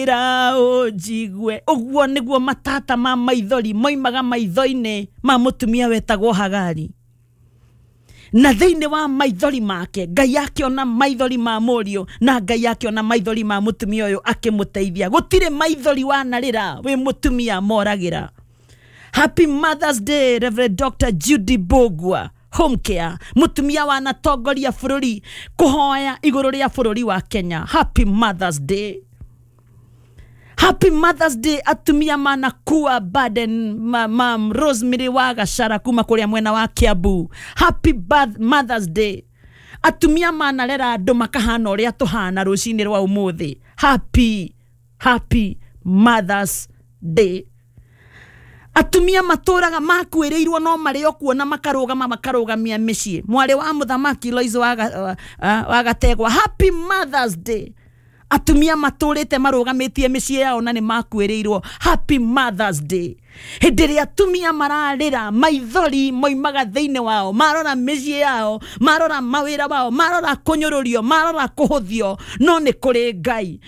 Ra ũnjigue. Ũguo nĩguo matata ma maithori moimaga maitho-inĩ ma mũtumia wetagwo Hagari. Na thĩinĩ wa maithori make Ngai akĩona maithori ma mũriũ, na Ngai akĩona maithori ma mũtumia ũyũ akĩmũteithia. Gũtirĩ maithori wanarĩra wĩ mũtumia moragĩra. Happy Mother's Day, Reverend Dr. Judy Bogwa Home Care, mũtumia wanatongoria bũrũri kũhoya igũrũ rĩa bũrũri wa Kenya. Happy Mother's Day. Happy Mother's Day atumia manakua burden mam Rosemary wa Gachara kuma kũrĩa mwena wa Kiambu. Happy Mother's Day. Atumia manarera andũ makahana ũrĩa tũhana rũcinĩ rwa ũmũthĩ. Happy Mother's Day. Atumia matũraga makuĩrĩirwo no marĩ o kuona makarũgama makarũgamia mĩciĩ. Mwarĩ wa mũthamaki Lois wa Gategwa. Happy Mother's Day. Atumia matũrĩte marũgamĩtie mĩciĩ yao na nĩ makuĩrĩirwo. Happy Mother's Day. Hĩndĩ ĩrĩa atumia mararĩra maithori moimaga thĩinĩ wao, marora mĩciĩ yao, marora mawĩra wao, marora kũnyũrũrio, marora kũhũthio, no nĩ kũrĩ Ngai.